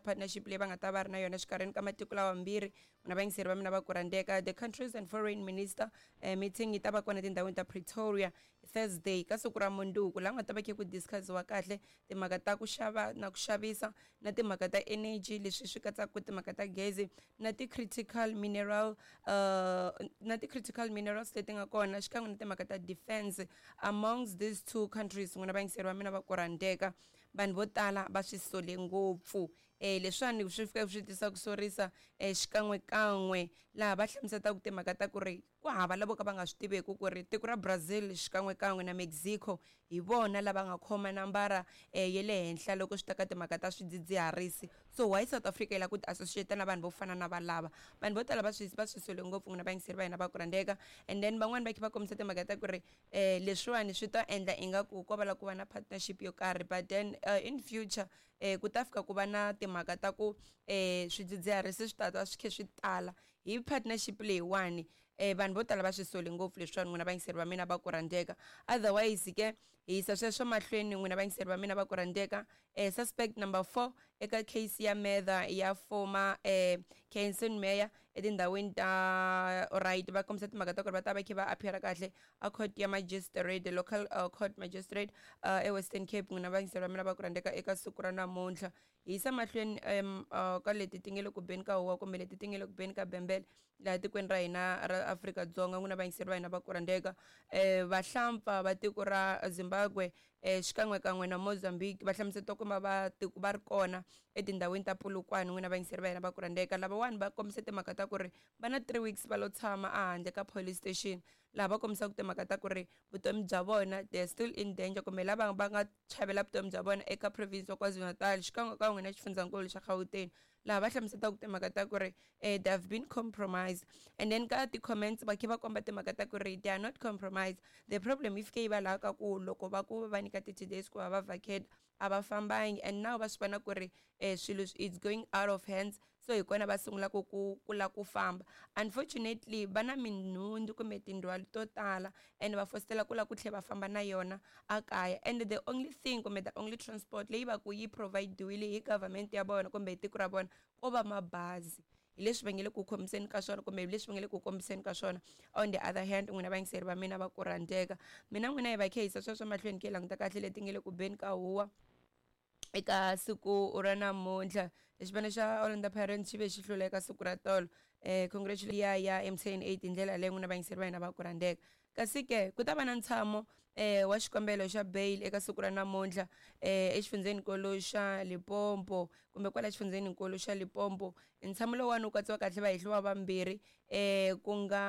Partnership leyi va nga ta va ri na yona exikarhini ka matiko lawa mambirhi, na vayingiseri va mina va ku rhandzeka, the countries and foreign minister meeting yi ta va kona etindhawini ta Pretoria Thursday, ka siku ra munduku, laha nga ta va khe ku discussiwa kahle timhaka ta ku xava na ku xavisa na timhaka ta energy, leswi swi katsaka timhaka ta gezi na ti-critical mineral na ti-critical minerals leti nga kona, xikan'we na timhaka ta defense amongst these two countries. N'wina vayingiseri va mina va ku rhandzeka, vanhu vo tala va swi sole ngopfu leswiwani swi fika swi tisa ku sorisa xikan'wekan'we, laha va hlamusetaka timhaka ta ku ri ku hava lavo ka va nga swi tiveki ku ri tiko ra Brazil xikan'wekan'we na Mexico hi vona lava nga khoma nambara ya le henhla loko swi ta ka timhaka ta swidzidziharisi. So why South Africa yi lava ku ti associate na vanhu vo fana na valava? Vanhu vo tala va swi sole ngopfu, n'wina vayingiseri va hina va ku rhandzeka. And then van'wani va kha va kombisa timhaka ta ku ri leswiwani swi ta endla ingaku ko va la ku va na partnership yo karhi, but then in future ku ta fika ku va na timhaka ta ku swidzidziharisi swi ta ta swi khe swi tala hi partnership leyiwani. Vanhu vo tala va swi sole ngopfu leswiwani, n'wina vayingiseri va mina va ku rhandzeka. Otherwise ke, hi yisa sweswo mahlweni, n'wina vayingiseri va mina va ku rhandzeka, suspect number 4 eka case ya murder ya former Kenson mayor etindhawini ta right, va kombisa timhaka ta ku ri va ta va kha va appear kahle a court ya magistrate, the local court magistrate eWestern Cape, n'wina vayingiseri va mina va ku rhandzeka, eka siku ra namuntlha. Hi yisa mahlweni ka leti ti nge le ku beni ka huwa kumbe leti ti nge le ku beni ka bembele laha tikweni ra hina ra Afrika-Dzonga, n'wina vayingiseri va hina va ku rhandzeka. Vahlampfa va tiko ra Zimbabwe xikan'wekan'we na Mozambique va hlamusetiwa ku va tiko va ri kona etindhawini ta Polokwane, n'wina vayingiseri va hina va ku rhandzeka. Lavawani va kombise timhaka ta ku ri va na 3 weeks va lo tshama ehandle ka police station, laha va kombisaka timhaka ta ku ri vutomi bya vona, they are still in danger, kumbe lava va nga chavela vutomi bya vona eka province wa KwaZulu-Natal xikan'wekan'we na xifundzankulu xa Gauteng, laha va hlamusetaka timhaka ta ku ri they have been compromised. And then ka ti-comments va khe va komba timhaka ta ku ri they are not compromised. The problem yi fike yi va laha ka ku loko va ku va nyika 30 days ku va va vacate, a va fambangi, and now va swi vona ku ri swilo it's going out of hands, so hi kona va sungulaka ku lava ku famba. Unfortunately, va na minhundzu kumbe tindhwalo to tala and va fositela ku lava ku tlhela va famba na yona a kaya, and the only thing kumbe the only transport leyi va ku yi provide-iwile hi government ya vona kumbe hi tiko ra vona ko va mabazi. Hi leswi va nge le ku khomiseni ka swona kumbe hi leswi va nge le ku kombiseni ka swona. On the other hand, n'wina vayingiseri va mina va ku rhandzeka, mina n'wina hi va khe hisa sweswo mahlweni ke languta kahle leti nge le ku beni ka huwa eka siku ra namuntlha. Xipano xa Orlando Pirates xi ve xi hlula eka siku ra tolo. Congratulation ya MTN 8 hi ndlela leyi, n'wina vayingiseri va hina va ku rhandzeka. Kasi ke ku ta va na ntshamo wa xikombelo xa bail eka siku ra namuntlha exifundzhenikulu xa Limpopo kumbe kwala xifundzhenikulu xa Limpopo. Ntshamo lowuwani wu katsiwa kahle vahehliwa vambirhi ku nga